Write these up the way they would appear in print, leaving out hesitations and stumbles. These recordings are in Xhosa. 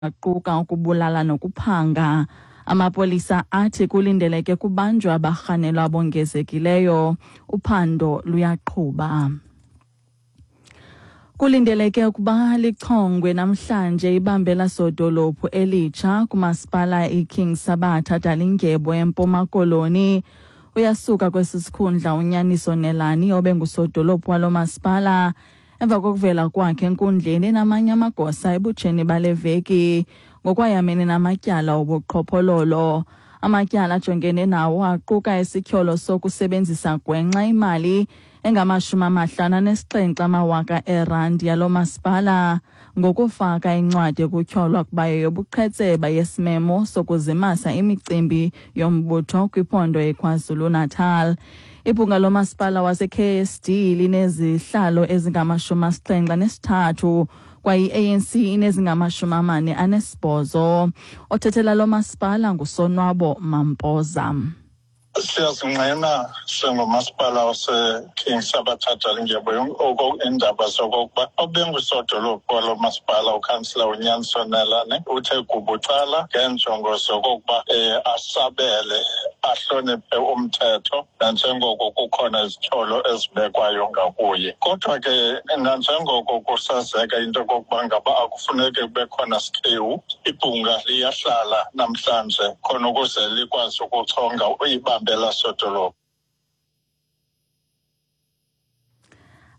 Aquka ukubulala nokuphanga. Amapolisa athi kulindeleke kubanjwe abarhanelwa abongezekileyo. Uphando luyaqhuba. Kulindeleke ukuba lichongwe namhlanje ibambela sodolophu elitsha kumasipala iKing Sabatha Dalindyebo eMpuma Koloni. Uyasuka kwesi sikhundla uNyaniso Nelani obengusodolophu walo masipala emva kokuvela kwakhe enkundleni enamanye amagosa ebutsheni bale veki ngokwayamene namatyala obuqhophololo. Amatyala ajongene nawo aquka isityholo sokusebenzisa gwenxa imali engama-57 amawaka eerandi yalo masipala ngokufaka incwadi ekutyholwa ukuba yeyobuqhetseba yesimemo sokuzimasa imicimbi yombutho kwiphondo iKwaZulu-Natal. Ibhunga lomasipala wase-KSD linezihlalo ezingama-73 kwaye i-ANC inezingama-48. Othethela lo masipala nguSonwabo Mampoza. Siyazingqina singumasipala waseKing Sabatha Dalindyebo iindaba zokokuba obengusodolophu walo masipala ukhansila uNyanso Nelane uthe gubucala ngeenjongo zokokuba um asabele ahloniphe umthetho nanjengoko kukhona izityholo ezibekwayo ngakuye. Kodwa ke nanjengoko kusazeka into yokokuba ngaba akufuneki kube khona sikhewu, ibhunga liyahlala namhlanje khona ukuze likwazi ukuchonga ibambela sodolophu.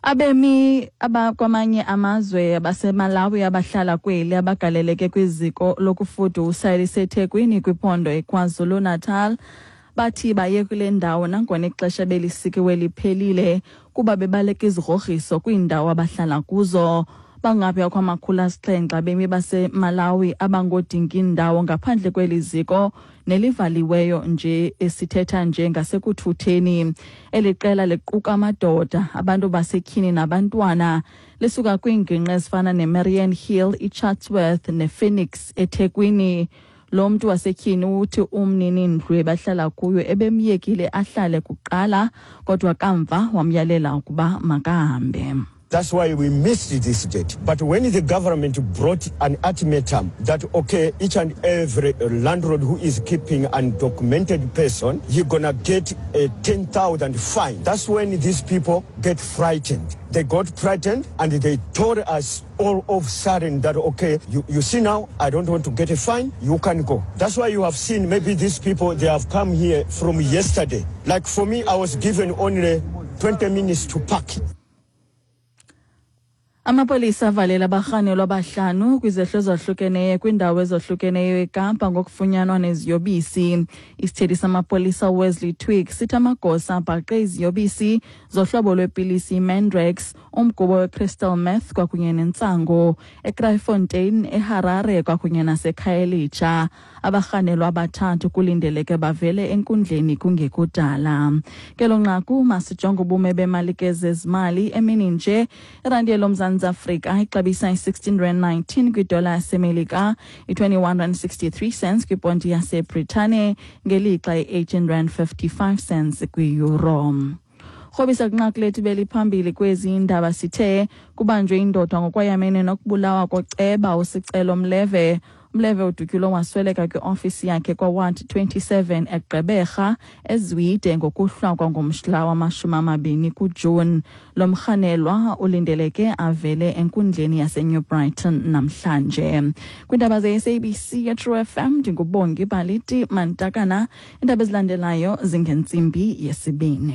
Abemi abakwamanye amazwe baseMalawi abahlala kweli abagaleleke kwiziko lokufudusa eliseThekwini kwiphondo iKwaZulu-Natal bathi baye kule ndawo nangona ixesha belisikiwe liphelile kuba bebaleka izigrogriso kwiindawo abahlala kuzo. Bangaphaya kwama-700 abemi baseMalawi abangodinga indawo ngaphandle kweli ziko nelivaliweyo nje esithetha nje ngasekuthutheni. Eli qela liquka amadoda, abantu basetyhini nabantwana. Lisuka kwiingingqi ezifana neMarian Hill, iChatsworth nePhoenix eThekwini. Lo mntu wasetyhini uthi umnini-ndlu ebahlala kuyo ebemyekile ahlale kuqala kodwa kamva wamyalela ukuba makahambe. That's why we missed this date. But when the government brought an ultimatum that, okay, each and every landlord who is keeping undocumented person, you're gonna get a 10,000 fine. That's when these people get frightened. They got frightened and they told us all of sudden that, okay, you see now, I don't want to get a fine, you can go. That's why you have seen maybe these people, they have come here from yesterday. Like for me, I was given only 20 minutes to pack. Amapolisa avalela abarhanelwa abahlanu kwizehlo ezahlukeneyo kwiindawo ezohlukeneyo eKapa ngokufunyanwa neziyobisi. Isithethi samapolisa uWesley Twigg sithi amagosa abhaqe iziyobisi zohlobo lwepilisi iMandrax, umgubo wecrystal meth kwakunye nentsango eKraaifontein, eHarare kwakunye naseKhayelitsha. Abarhanelwa abathathu kulindeleke bavele enkundleni kungekudala. Kelo nqaku masijonge ubume bemali ke zezimali emini nje. Irandi yeloMzantsi Afrika ixabisa i-16 rand 19 kwidola yaseMelika, i-21 rand 63 cents kwiponti yaseBritane, ngelixa i-18 rand 55 cents kwi-euro. Rhobisa kwinqaku lethu beliphambili kwezi indaba sithe kubanjwe indoda ngokwayamene nokubulawa koceba uSicelo Mleve. Mleve udutyulwe wasweleka kwiofisi yakhe kwaWard 27 eGqeberha eZwide ngokuhlwa kwangomhla wama-20 kuJuni. Lo mrhanelwa ulindeleke avele enkundleni yaseNew Brighton namhlanje. Kwiindaba ze-SABC yeTrue FM ndinguBongi Baliti Mantakana. Iindaba ezilandelayo zingentsimbi yesibini.